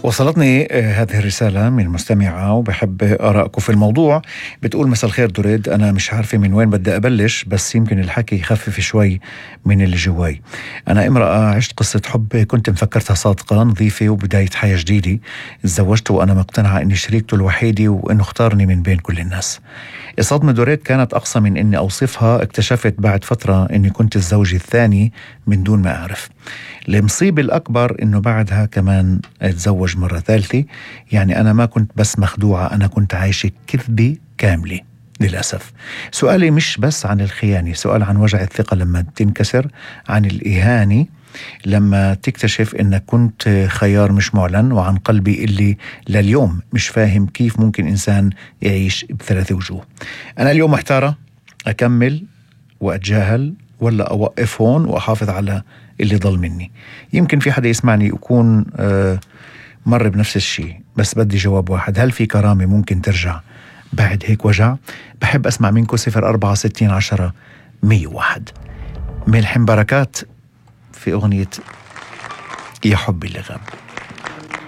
وصلتني هذه الرسالة من مستمعة وبحب آرائكم في الموضوع. بتقول: مساء الخير دريد، أنا مش عارفة من وين بدي أبلش، بس يمكن الحكي يخفف شوي من اللي جواي. أنا امرأة عشت قصة حب كنت مفكرتها صادقة نظيفة وبداية حياة جديدة. تزوجت وأنا مقتنعة إني شريكته الوحيدة وإنه اختارني من بين كل الناس. الصدمة دريد كانت أقصى من إني أوصفها. اكتشفت بعد فترة إني كنت الزوج الثاني من دون ما أعرف. المصيبة الأكبر إنه بعدها كمان اتزوج مرة ثالثة. يعني أنا ما كنت بس مخدوعة، أنا كنت عايشة كذبة كاملة للأسف. سؤالي مش بس عن الخيانة، سؤال عن وجع الثقة لما تنكسر، عن الإهانة لما تكتشف إنك كنت خيار مش معلن، وعن قلبي اللي لليوم مش فاهم كيف ممكن إنسان يعيش بثلاثة وجوه. أنا اليوم محتارة أكمل وأتجاهل ولا أوقف هون وأحافظ على اللي ضل مني. يمكن في حدا يسمعني يكون مر بنفس الشيء، بس بدي جواب واحد: هل في كرامة ممكن ترجع بعد هيك وجع؟ بحب أسمع منكم. 046010 101. ملحم بركات في أغنية يا حبي اللي غاب.